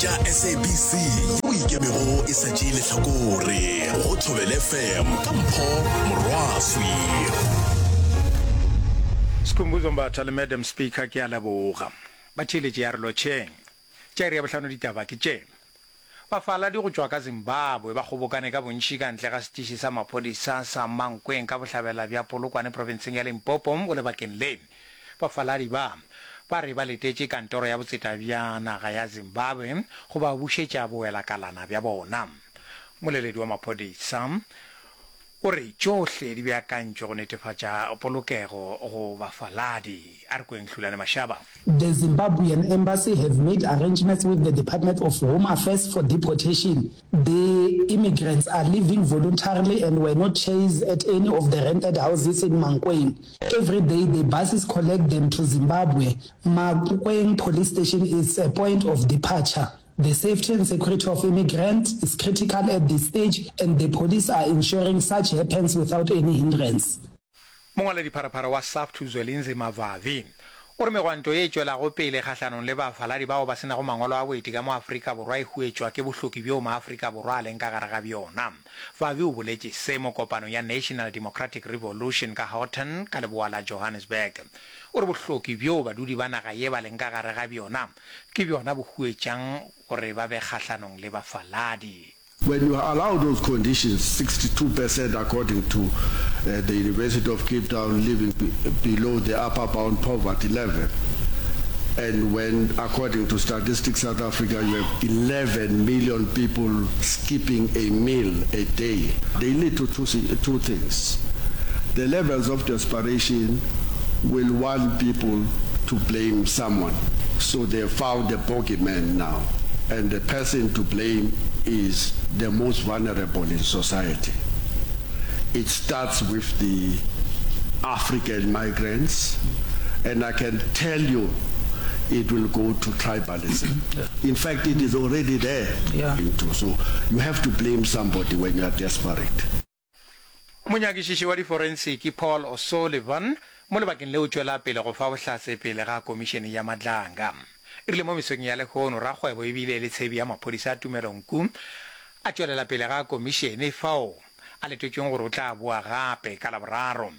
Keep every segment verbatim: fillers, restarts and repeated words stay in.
Tša S A B C yeo ikemego e sa tšee lehlakore go Thobela F M ka Mpho Morwaswi. Skhumbuzo Mbatha le Madam Speaker, ke a leboga. Batheeletši ya re lotšheng. Tša iri ya bohlano ditaba ke tše. Bafaladi go tšwa ka Zimbabwe ba kgobokane ka bontši ka ntle ga setiši sa maphodisa sa Mankweng ka bohlabela bja Polokwane profenseng ya Limpopo go lebakeng le. Bafaladi ba ba re ba letetše kantoro ya botseta bja naga ya Zimbabwe go ba bušetša bowelakalana bja bona. Moleledi wa maphodisa o re tšohle di beakantšwe go netefatša polokego go bafaladi. A re kweng Hlulane Mashaba. The Zimbabwean embassy have made arrangements with the Department of Home Affairs for deportation. The immigrants are leaving voluntarily and were not chased at any of the rented houses in Mankweng. Every day the buses collect them to Zimbabwe. Mankweng police station is a point of departure. The safety and security of immigrants is critical at this stage and the police are ensuring such happens without any hindrance. Mongwaledipharapara wa SAFTU Zwelinzima Vavi o re megwanto ye e tšwelago pele kgahlanong le bafaladi bao ba se nago mangwalo a boeti ka mo Afrika Borwa e huetšwa ke bohloki bjo maAfrika Borwa a leng ka gare ga bjona. Vavi o boletše se mo kopanong ya National Democratic Revolution ka Houghton ka leboa la Johannesburg. O re bohloki bjo badudi ba naga ye ba leng ka gare ga bjona ke bjona bo huetšang gore ba be kgahlanong le bafaladi. When you allow those conditions, sixty-two percent according to uh, the University of Cape Town living below the upper bound poverty level, and when, according to Statistics South Africa, you have eleven million people skipping a meal a day, they lead to two, two things. The levels of desperation will want people to blame someone. So they found the bogeyman now. And the person to blame is the most vulnerable in society. It starts with the African migrants, and I can tell you it will go to tribalism. Yeah. In fact, it is already there. Yeah. So you have to blame somebody when you are desperate. Monyakišiši wa diforensiki Paul O'Sullivan mo lebakeng leo tšwela pele go fa bohlatse pele ga komišene ya Madlanga. E rile mo mesong ya lehono rakgwebo ebile le tshebi ya maphodisa a Tumelo Nku a tšwelela pele ga komišene fao a letetšweng gore o tla boa gape ka Laboraro.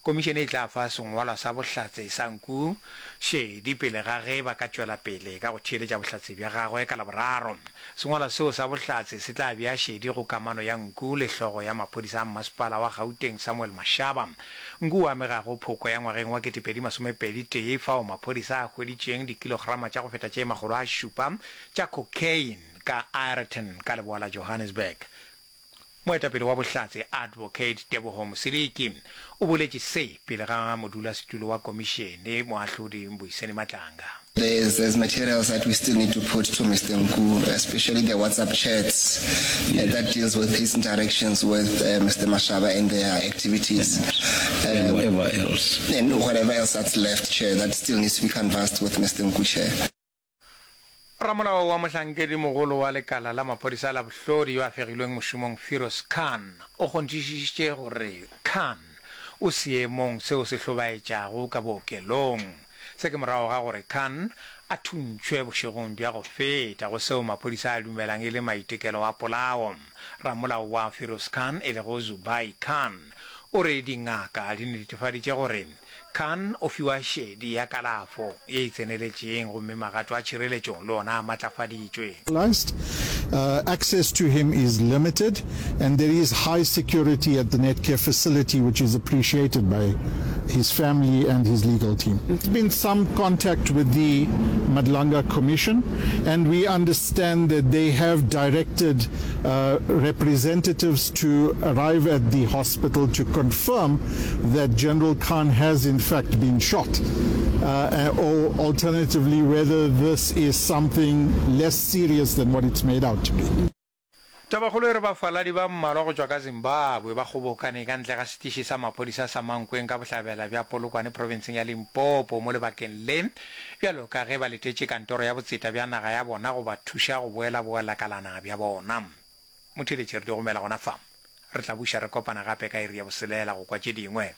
Komišene e tla fa sengwalwa sa bohlatse sa Nku šedi pele ga ge ba ka tšwela pele ka go theeletša bohlatse bja gagwe ka Laboraro. Sengwalwa seo sa bohlatse se tla bea šedi go kamano ya Nku le hlogo ya maphodisa a mmasepala wa Gauteng Samuel Mashaba. Nku o amegago phoko ya ngwageng wa ketepedi masomepedi tee fao maphodisa a hweditšeng dikilograma tša go feta tše makgolo a šupa tša cocaine ka Aeroton ka leboa la Johannesburg. Moetapele wa bohlatse Advocate Teboho Mosiliki o boletše se pele ga modulasetulo wa komišene moahlodi Mbuyiseni Madlanga. There's, there's materials that we still need to put to Mister Nku, especially the WhatsApp chats uh, that deals with his interactions with uh, Mister Mashaba and their activities. And um, whatever else. And whatever else that's left, Chair, that still needs to be canvassed with Mister Nku, Chair. Ramolao wa mohlankedi mogolo wa lekala la maphodisa la bohlodi yo a fegilweng mošomong Firoz Khan o kgonthišišitše gore Khan o seemong seo se hlobaetšago ka bookelong. Se ke morago ga gore Khan a thuntšhwe bošegong bja go feta go seo maphodisa a dumelang e le maitekelo a polao. Ramolao wa Firoz Khan e lego Zubair Khan o re dingaka di netefaditše gore Khan o fiwa šedi ya kalafo ye e tseneletšeng gomme magato a tšhireletšo le ona a matlafaditšwe. Uh, access to him is limited, and there is high security at the Netcare facility, which is appreciated by his family and his legal team. There's been some contact with the Madlanga Commission, and we understand that they have directed uh, representatives to arrive at the hospital to confirm that General Khan has in fact been shot, Uh, or alternatively, whether this is something less serious than what it's made out to be. Tabakgolo e re bafaladi ba mmalwa go tšwa ka Zimbabwe ba kgobokane ka ntle ga setiši sa maphodisa sa Mankweng ka bohlabela bja Polokwane profenseng ya Limpopo mo lebakeng le bjalo ka ge ba letetše kantoro ya botseta bja naga ya bona go ba thuša go boela boelakalana bja bona. Motheeletši re di gomela gona fa. Re tla buša re kopana gape ka iri ya boselela go kwa tše dingwe.